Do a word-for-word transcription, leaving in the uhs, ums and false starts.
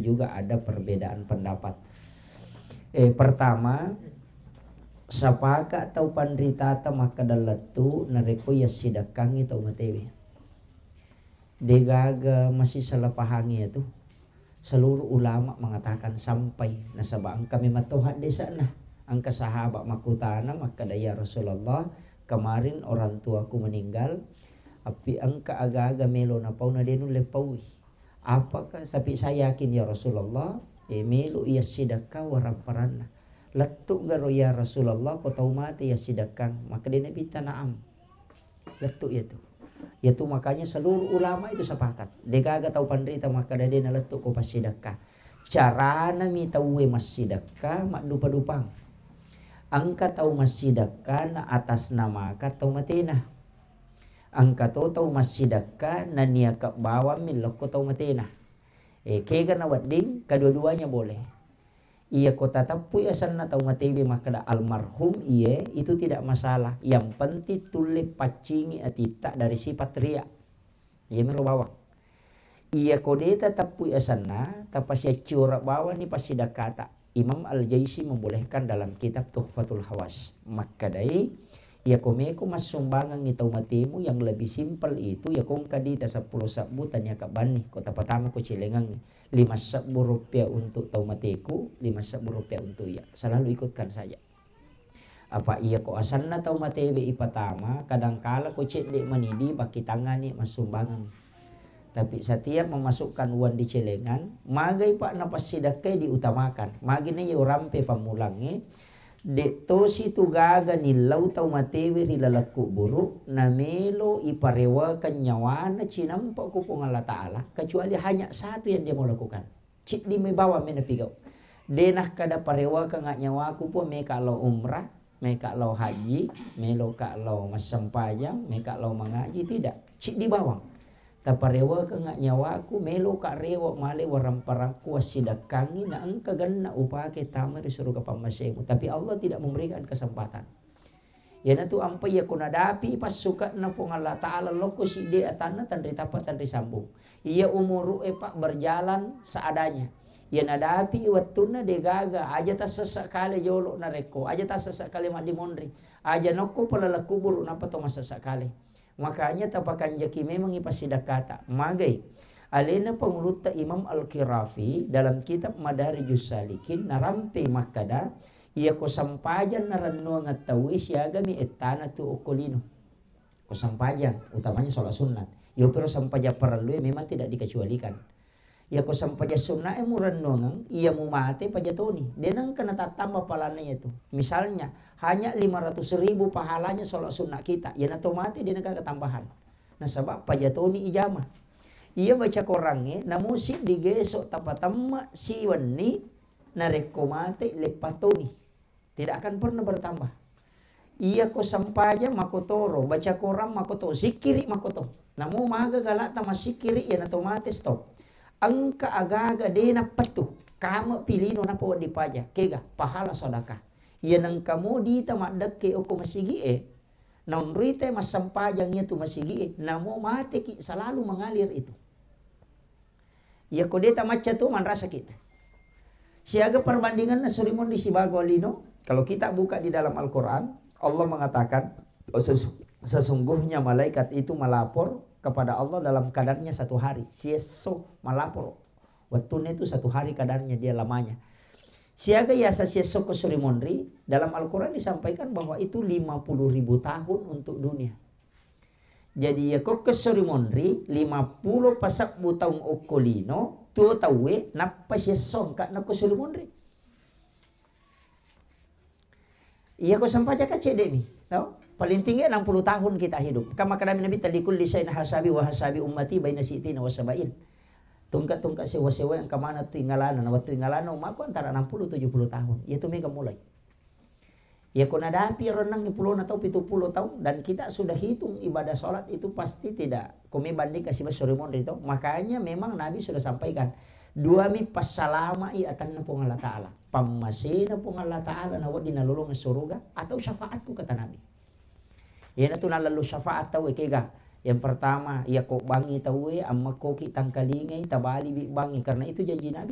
juga ada perbedaan pendapat. Eh, pertama, sapaka tau panritata makkeda lettu narekko yassidekkangngi tau matewe. Degaga masih salah pahangi itu. Seluruh ulama mengatakan sampai, nasaba engka memang to haddesa'na. Engka sahabat makkutana makkeda, "Ya Rasulullah, kemarin orang tuaku meninggal, appi engka aga-aga melo napau na de nulle paui. Apakah, tapi saya yakin ya Rasulullah, eh, melo iya sidekka waramparanna. Lettu garo ya Rasulullah ko tau mate ya sidekkang?" Makkeda Nabitta, "Na'am." Lettu iyatu. Iyatu makanya seluruh ulama itu sepakat. Degaga tau panrita makkeda de nalettu ko passidekka. Carana mi tauwe massidekka maddupa-dupang. Engka tau massidekka na atas namaka tau matena. Engka to tau massidekka na niaka bawang mi lokko tau matena. Eh, kega na wedding, kedua-duanya boleh. Iya ko tateppui asenna tau matewe makkeda almarhum, iye, itu tidak masalah. Yang penting tulle paccingi atitta dari sifat riya. Iya mero bawang. Iya ko de tateppui asenna, tapasiacciora bawang ni passidakkata. Imam Al-Jaisi membolehkan dalam kitab Tuhfatul Hawas. Makkedai, iya ko meko massumbangengi tau matemu yang lebih simpel itu, iya ko engka dita seppulo sebbu tania kabbanni, ko tapatama ko cilengengi. Lima sebbu rupiah untuk tau mateku, lima sebbu rupiah untuk iya. Selalu ikutkan saja. Apa iya ko asenna tau matewe ipatama, kadangkala ko cedde manidi bakkitangani massumbangeng. Tapi setiap memasukkan uang di celengan, magai pak napassidekkai diutamakan. Magi na iya urampe pammulangnge, de tosi tu gaga nillau tau matewe ri laleng kuburu, namelo iparewakeng nyawana cinampa ku Puang Allah Ta'ala, kecuali hanya satu yang dia mau lakukan. Ciddi mai bawang mi napigau. De nakkada parewakeng nyawaku Puang, meka lao umrah, meka lao haji, meloka lao massempajang, meka lao mangaji, tidak. Ciddi bawang. Taparewakeng nyawaku, meloka rewa male waramparakku assidekkangi, na engka genna upake tama ri suruga pammasemu. Tapi Allah tidak memberikan kesempatan. Iyanatu ampai iya ko nadapi passuke'na Puang Allah Ta'ala lokko siddi atanna tanri tappa tanri sambung. Iya umuru'e pak berjalan seadanya. Iya nadapi wettunna degaga, aja tassessa kale jolo narekko, aja tassessa kale maddimonri, aja nokko palaleng kuburu nappa to massessa kale. Makanya tapakanjaki memangngi passidakkata. Magai. Alena pangulutta Imam Al-Qirafi dalam kitab Madarijus Salikin narampe makkada, iya ko sempajang narennuangeng tauwe siagami ettana tu okko lino. Ko sempajang, utamanya sholat sunnat. Iyo pero sempajang parellue memang tidak dikecualikan. Iya ko sempajang sunna'e murennuangeng, iya mumate pajatoni. De nengka natattamba pahalana iyatu. Misalnya, hanya lima ratus ribu pahalanya sholat sunnah kita. Iya nato mate de nengka ketambahan. Nasaba pajatoni ijama. Iya baca korangnge, namusi digeso tapatemma siwenni, narekko mate leppatoni. Tidak akan pernah bertambah. Iya ko sempajang makotoro, baca korang makoto, sikkiri makoto. Namo maga galata massikkiri, iya nato mate stop. Engka aga-aga de nappettu, kame pilino napa wedding paja, kega, pahala sodaka. Iya nengka mo dita maddekke okko masigi e, naunrita massempajang iya tu masigi e, namo mateki selalu mengalir itu. Iya ko de tamacca tu manrasaki. Siaga perbandinganna suri monri sibawa lino? Kalau kita buka di dalam Al-Quran, Allah mengatakan, "Ses-, sesungguhnya malaikat itu melapor kepada Allah dalam kadarnya satu hari." Siesso malapor. Wettunna itu satu hari kadarnya dia lamanya. Siaga yasa siesso ko suri monri, dalam Al-Quran disampaikan bahwa itu lima puluh ribu tahun untuk dunia. Jadi, iya ko kessori monri, lima pulo pasebbu taung okko lino, tuo tauwe, nappa siesso engka nakko sori monri. Iya ko sempajang ka cedde mi, tau? Paling tinggi enam puluh tahun kita hidup. Kan makkedami Nabi, "Likulli syai'in hasabi wa hasabi ummati baina sitina wa sabain." Tungka-tungka sewa-sewa yang kemana tu ingalana, na wettu ingalana umaku antara enam puluh tujuh puluh tahun. Iya tu mega mulai. Ya, ko nadapi ro enneng pulona tau, pitu pulo tau, dan kita sudah hitung ibadah sholat itu pasti tidak, ko mi bandingkan siba sore monri tau. Makanya memang Nabi sudah sampaikan, dua mi passalamai atanna Puang Allah Ta'ala. Pammasena Puang Allah Ta'ala na wedding nalolongeng suruga atau syafaatku, kata Nabi. Iyanatu nallallu syafaat tau e kega. Yang pertama, iya ko bangi tau e, ammekkoki tangkalingai, tabaliwi bangi. Karena itu janji Nabi,